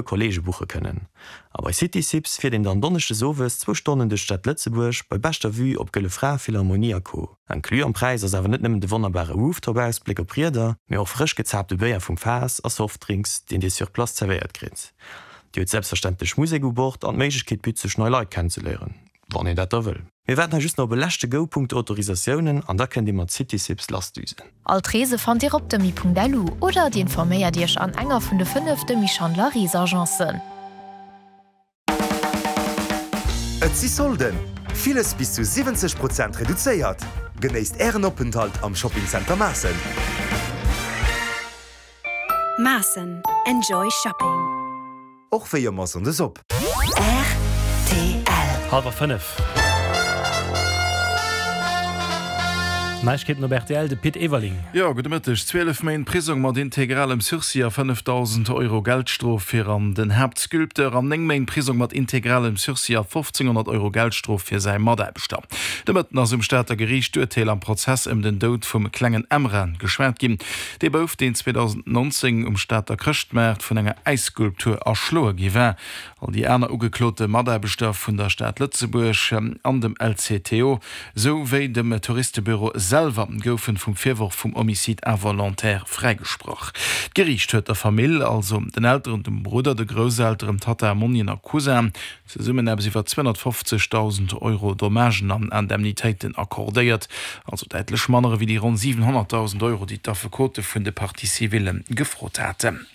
Kolleege buche kënnen. A bei City Sips fiert een dann donneschdes owes zwou Stonnen duerch d'Stad Lëtzebuerg bei beschter Vue op Gëlle Fra, Philharmonie a Co. Inclus am Präis ass awer net nëmmen de wonnerbare Rooftop-Ausbléck op Rieder, mee och frësch gezaapte Béier vum Faass a Softdrinks, deen Dir sur place zerwéiert kritt. Dir hutt selbstverständlech Musek u Bord an d'Méiglechkeet bitt sech nei Leit kennenzeléieren, wann een dat da wëll. Mir waarden hei just nach op e leschte Go punkto Autorisatiounen an da kënnt Dir mat Citysips lassdüsen. All d'Reese fannt Dir op demi.lu oder Dir informéiert Iech an enger vun de 5 Demy Schandler Reesagencen. Et si Solden! Villes bis zu 70 Prozent reduzéiert! Genéisst Ären Openthalt am Shopping Center Maassen! Maassen, Enjoy Shopping! Och wéi ëmmer Sonndes op. Rtl. Halwer 5. Neiegkeeten op rtl, de Pit Everling. Jo, gudde Mëtteg. 12 Méint Prisong mat integralem Sursis a 5.000 Euro Geldstrof fir an den Haaptsculpteur an 9 Méint Prisong mat integralem Sursis a 1.500 Euro Geldstrof fir säi Mataarbechter. De Mëtten ass um Stater Geriicht d'Urteel am Prozess ëm den Doud vum klengen Emran geschwat ginn. Dee Bouf, deen 2019 um Stater Chrëschtmaart vun enger Äisskulptur erschloe gi war. All déi aner ugeklote Mataarbechter vun der Stad Lëtzebuerg an dem LCTO, sou wéi dem Touristebüro selwer goufen vum Virworf vum Homicide involontaire fräigesprach. D'Geriicht huet der Famill, also den Elteren, dem Brudder, de Grousselteren, Tatta, Monnien a Cousin, Zesummen eppes iwwer 250.000 Euro Dommagen an Indemnitéiten accordéiert, also däitlech manner ewéi déi ronn 700.000 Euro, déi d'Affekote vun de Parties civilles gefrot haten.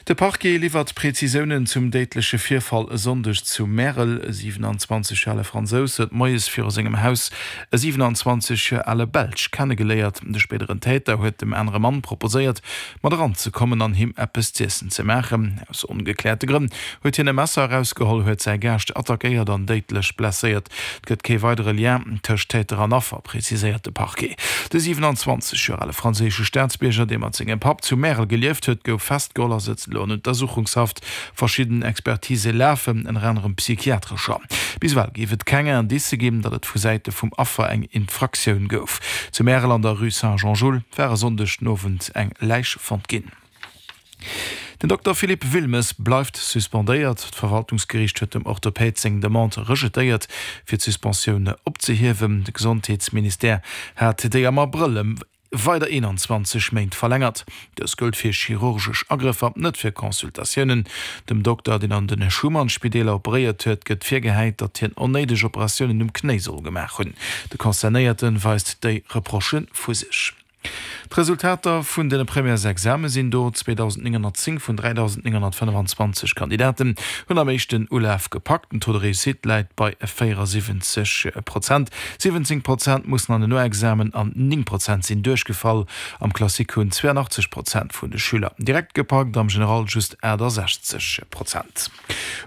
De Parquet liwwert Prezisiounen zum déidleche Virfall e Sonndeg zu Märel. E 27 Joer ale Fransous huet moies viru sengem Haus e 27 Joer ale Belsch kennegeléiert. De spéideren Täter huet dem anere Mann proposéiert, mat eranzekommen an him eppes z'iessen ze maachen. Aus ongekläerte Grënn huet hien e Messer erausgeholl, huet säi Gaascht attackéiert an déidlech blesséiert. Et gëtt kee weidere Lien tëscht Täter an Affer, preziséiert de Parquet. De 27 Joer ale franséische Staatsbierger, dee mat sengem Papp zu Märel gelieft huet, gouf festgeholl a sëtzt elo an Untersuchungshaft. Verschidden Expertise lafen, ënner anerem psychiatrescher. Bis ewell géif et keng Indicë ginn, datt et vu Säite vum Affer eng Infraktioun gouf. Zu Märel an der Rue Saint-Jean-Jules war e Sonndeg den Owend eng Läich fonnt ginn. Den Dokter Philippe Wilmes bleift suspendéiert. D'Verwaltungsgeriicht huet dem Orthopäd seng Demande rejetéiert, fir d'Suspensioun opzehiewen. De Gesondheetsministère hat déi am Abrëll ëm weider 21 Méint verlängert. Dës gëllt fir chirurgesch Agrëffer, net fir Consultatiounen. Dem Dokter, deen an de Schuman-Spideeler operéiert huet, gëtt virgehäit, datt hien onnéideg Operatiounen um Knéi soll gemaach hunn. De Concernéierte weist déi Reprochë vu sech. D'Resultater vun de Premièresexame sinn do, 2.910 vun 3.925 Kandidaten hunn am éischten Ulaf gepackt. Den Taux de réussite läit bei 74 Prozent. 17 Prozent mussen an den Noexamen an 9 Prozent sinn duerchgefall. Am Classique hunn 82 Prozent vun de Schüler direkt gepackt, am General just 68 Prozent.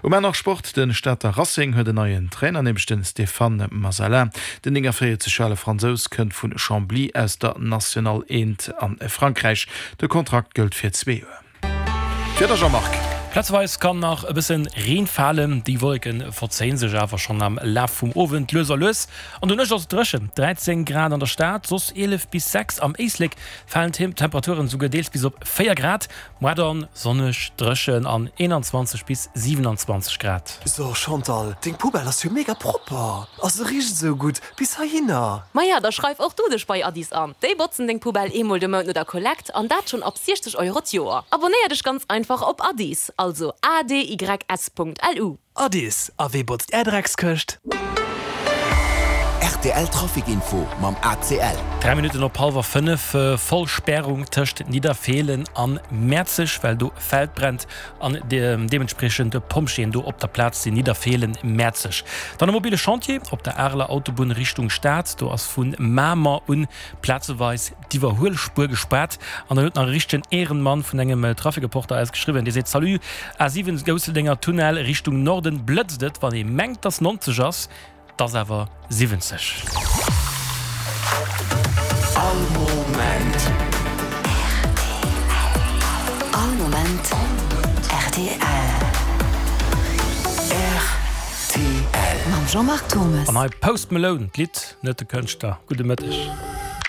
Um Enn nach Sport, De Stater Racing huet en neien Trainer, nämlech de Stéphane Masala. Den 49 Joer ale Fransous kënnt vu Chambly aus der National 1 a Frankräich. De Kontrakt gëllt fir zwee Joer. D'Wieder, Jean-Marc. Plazeweis kann nach e bësse Reen falen, déi Wolleke verzéie sech awer schonn am Laf vum Owend lues a lues. An der Nuecht ass et dréchen, 13 Grad an der Stad, soss 11 bis 6. Am Éislek falen d'Temperaturen esouguer deels bis op 4 Grad. Moar dann sonneg, dréchen an 21 bis 27 Grad. So Chantal, deng Poubelle ass jo mega propper a se richt esou gutt bis heihinner. Maja, da schreif och du dech bei Addis an. Déi botzen deng Poubelle eemol de Mount no der Kollekt an dat schonn ab 60 Euro d'Joer. Abonnéier dech ganz einfach op Addis, also adys.lu. Addis, a wee botzt är Dreckskëscht? Rtl Trafic Info mam ACL. 3 Minutten op hallwer 5, Voll Spärung tëscht Nidderfeelen an Mäerzeg, well do e Feld brennt an deementspriechend Pompjeeën do op der Plaz sinn. Nidderfeelen, Mäerzeg. Dann e mobile Chantier op der Areler Autobunn Richtung Stad. Do ass vu Mamer un plazeweis d'Iwwerhuelspuer gespaart. An dann huet nach e richtegen Ehrenmann vun engem Trafikreporter eis geschriwwen, dee seet, Salut, A7 Gousseldenger Tunnel Richtung Norden blëtzt et, wann ee mengt dass 90 ass, 't ass awer 70. All Moment. All Moment rtl. Rtl. Mam Jean-Marc Thommes. An hei Post Malone, d'Lidd, net de Kënschtler. Gudde Mëtteg.